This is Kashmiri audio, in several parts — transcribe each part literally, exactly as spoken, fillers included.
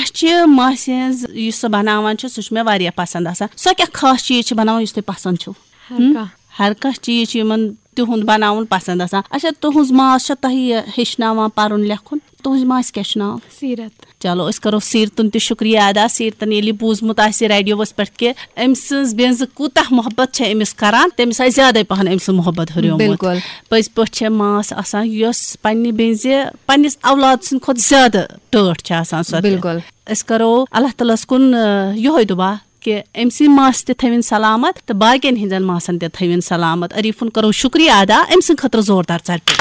اَسہِ چھِ ماسہِ ہٕنٛز، یُس سۄ بَناوان چھِ، سُہ چھُ مےٚ واریاہ پَسنٛد آسان۔ سۄ کیٛاہ خاص چیٖز چھِ بَناوان یُس تۄہہِ پَسنٛد چھُو؟ ہر ہم؟ کانٛہہ۔ ہر کانٛہہ چیٖز چھُ یِمَن تِہُنٛد بَناوُن پَسنٛد آسان۔ اچھا، تُہٕنٛز ماس چھا تۄہہِ یہِ ہیٚچھناوان پَرُن لیکھُن؟ تُہٕنٛزِ ماسہِ کیٛاہ چھُ ناو؟ سیٖرت۔ چلو، أسۍ کَرو سیٖرتَن تہِ شُکریہ ادا۔ سیٖرتَن ییٚلہِ یہِ بوٗزمُت آسہِ ریڈیوَس پٮ۪ٹھ کہِ أمۍ سٕنٛز بیٚنزِ کوٗتاہ محبت چھےٚ أمِس کَران، تٔمِس آسہِ زیادَے پَہَن أمۍ سٕنٛز محبت ہُریومُت۔ بِلکُل۔ پٔزۍ پٲٹھۍ چھےٚ ماس آسان، یۄس پنٛنہِ بیٚنزِ، پنٛنِس اولاد سٕنٛدِ کھۄتہٕ زیادٕ ٹٲٹھ چھےٚ آسان سۄ تہِ۔ بِلکُل۔ أسۍ کَرو اللہ تعالیٰ ہَس کُن، آ، یِہوٚے دُعا کہِ أمۍ سٕنٛدِ ماسہِ تہِ تھٲوِن سلامت تہٕ باقین ہٕنٛزن ماسن تہِ تھٲوِن سلامت۔ عریٖفُن کرو شُکریہ ادا أمۍ سٕنٛدِ خٲطرٕ زوردار ژَٹہِ۔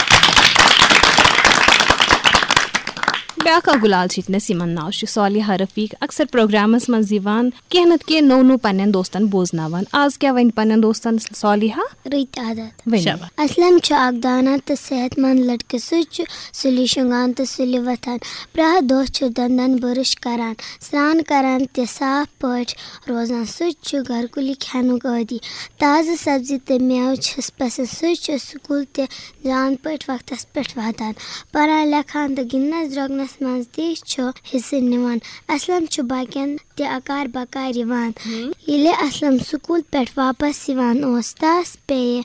بیٛاکھ اکھ گُلال چھِ ییٚتنَس، یِمن ناو چھُ صالحہ رفیق، اکثر پروگرامس منٛز یِوان، کینٛہہ نتہٕ کینٛہہ نوٚو نوٚو پننٮ۪ن دوستن بوزناوان۔ آز کیٛاہ وَنہِ پننٮ۪ن دوستن صالحہ؟ رٕتۍ عادت۔ ؤنِو۔ شاباش۔ اسلم چھُ اکھ دانا تہٕ صحت مند لڑکہٕ۔ سُہ چھُ سُلہِ شۄنٛگان تہٕ سُلہِ وۄتھان۔ پرٛٮ۪تھ دۄہ چھُ دنٛدن برش کران، سرٛان کران تہٕ صاف پٲٹھۍ روزان۔ سُہ چھُ گرکُلی کھٮ۪نُک عٲدی۔ تازٕ سبزی تہٕ مٮ۪وٕ چھِس پسنٛد۔ سُہ چھُ سکوٗل تہِ جان پٲٹھۍ وقتس پٮ۪ٹھ واتان۔ پران، لیکھان تہٕ گِنٛدنس درٛوٚگنس منٛز تہِ چھُ حصہٕ نِوان۔ اسلم چھُ باقین تہِ اکار بکار یِوان۔ ییٚلہِ اسلم سکوٗل پٮ۪ٹھ واپس یِوان اوس، تس پیٚیہِ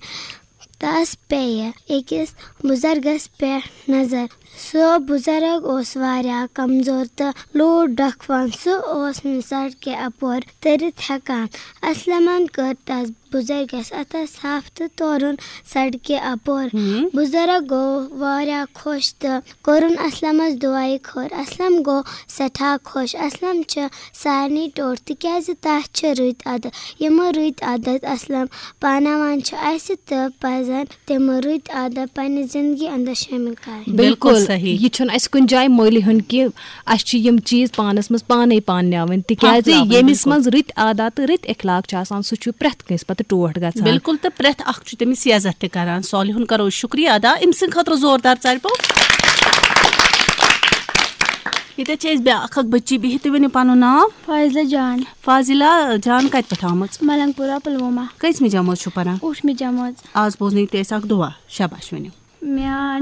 تس پیٚیہِ أکِس بُزرگس پٮ۪ٹھ نظر۔ سُہ بُزرگ اوس واریاہ کمزور تہٕ لوٗر ڈکھوان۔ سُہ اوس نہٕ سڑکہِ اپور تٔرِتھ ہٮ۪کان۔ اسلمن کٔر تس بُزرگس اتھس تھپھ تہٕ تورُن سڑکہِ اپور۔ بُزرگ گوٚو واریاہ خۄش تہٕ کوٚرُن اسلمس دُعایہِ خٲر۔ اسلم گوٚو سٮ۪ٹھاہ خۄش۔ اسلم چھِ سارنٕے ٹوٹھ، تِکیازِ تس چھِ رٕتۍ عادت۔ یِمہٕ رٕتۍ عادت اسلم پاناوان چھِ، اسہِ تہِ پزن تِم رٕتۍ عادت پننہِ زندگی اندر شٲمِل کرٕنۍ۔ بِلکُل بِلکُل۔ صحیح۔ یہِ چھُنہٕ اسہِ کُنہِ جایہِ مٔلۍ ہیوٚن کہِ اسہِ چھِ یِم چیٖز پانس منٛز پانے پانناوٕنۍ، تِکیازِ حافظاوٕنۍ، ییٚمِس بِلکُل۔ منٛز رٕتۍ عادت تہٕ رٕتۍ اخلاق چھِ آسان، سُہ چھُ پرٛٮ۪تھ کٲنٛسہِ پتہٕ ٹوٹھ گژھان۔ بِلکُل، تہٕ پرٛٮ۪تھ اکھ چھُ تٔمِس یہِ عزت تہِ کران۔ صالحُن کرو شُکریہ ادا أمۍ سٕنٛدِ خٲطرٕ زوردار ژَرِ پوٚپ۔ ییٚتٮ۪تھ چھِ أسۍ بیٛاکھ اکھ بٔچی بِہِتھ، تُہۍ ؤنِو پنُن ناو؟ فاضلہ جان۔ فاضلہ جان کتہِ پٮ۪ٹھ آمٕژ؟ ملنگ پورہ، پلوامہ۔ کٔژمہِ جمٲژ چھِو پران؟ ٲٹھمہِ جمٲژ۔ آز بوزنٲیِو تُہۍ اَسہِ اکھ دُعا۔ شاباش، ؤنِو۔ میٛانہِ